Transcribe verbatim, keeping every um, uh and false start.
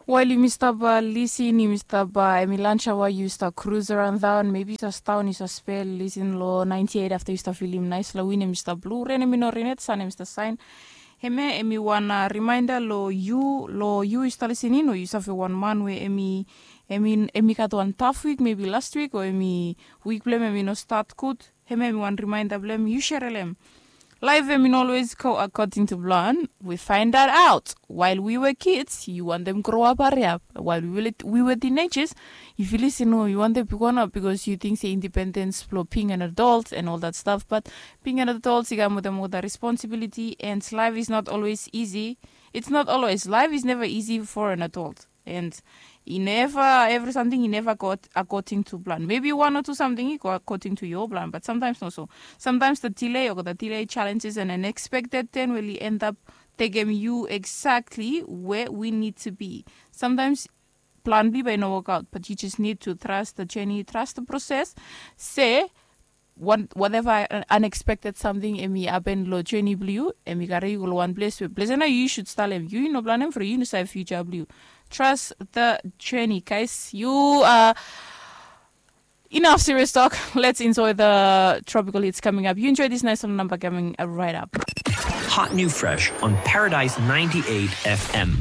Wael yumi stap lisin yumi stap, em i lansaoa yu stap krus aran daon mebi yu stap staon yu stap spel lisin long nainti eit afta yu stap filim nais long win em i stap blu ren em i no ren yet san em i stap saen. Hemia em i wan rimaenda long yu long yu i stap lisin in o yu save wan man we em i em i em i gat wan taf wik mebi last wik o em i wik blong em em i no stat gud. Hemia em i wan rimaenda blong em yu sere long em. Laef em i no olwes go akoding tu plan. We faendaot aot wael wi we kids yu wantem groap hariap wael wi we tinejas. Yu filis i no yu wantem bigwan ap bikos yu ting se indipendens blong bing an adolt an ol dat staf bat bing an adolt i kam wetem ol dat responsibiliti an laef is not olwes isi. Its not olwes laef is neva isi for an adolt. And i neva evri samting i neva go akoding tu plan mebi wan o tu samting i go akoding tu yo plan bat samtaims noso. Samtaims da dilei o da dilei jalenjes an anekspekted ten we li endap tekem yu eksakli we wi nid tu bi. Samtaims plan bli bai i no wokaot bat yu jes nid tu tras da jeni tras da proses. Se wateva anekspekted samting em i hapen long jeni blong yu em i kare yu go long wan ples we ples ya nao yu sud stalem yu i no planem from yu no save fiuja blong yu. Tras da jeni kais yu a enough serious talk. Let's enjoy the tropical hits coming up you enjoy this nice little number coming right up. Hot new fresh on Paradise ninety-eight F M.